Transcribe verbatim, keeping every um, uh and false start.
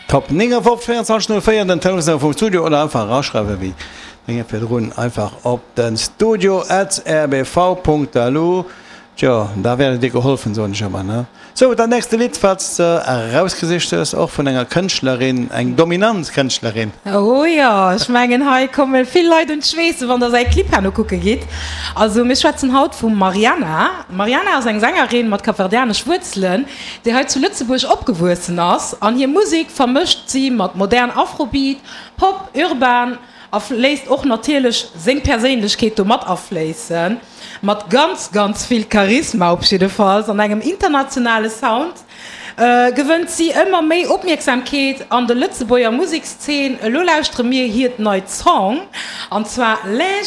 Top néngafofzeg véierundzwanzeg null véier den Telefonsnummer vum Studio oder einfach eraschreiwen wéi Dénge virdrun einfach op den studio at rbv.lu. Tjo, da werdet dir geholfen, soen ech ëmmer, ne? Sou, dat nächste Lidd, wat s de erausgesicht hues, och vun enger Kënschtlerin, eng dominant Kënschtlerin. Oh jo, ech mengen hei komme vill Leit un d'Schweessen, wann der säi Clip herno kucke gitt. Also mir schwätzen haut vum Mariana. D'Mariana ass eng Sängerin mat kapverdianesch Wuerzelen, déi hei zu Lëtzebuerg opgewuessen ass an hir Musek vermëscht si mat modern Afrobeat, Pop, Urban a léisst och natierlech seng Perséinlechkeet do mat afléissen. Mat ganz, ganz vill Charisma op jiddefalls an engem internationale Sound gewënnt si ëmmer méi Opmierksamkeet an der Lëtzebuerger Musekszeen. Elo lauschtere mir hiert neit Song an zwar L'injustice.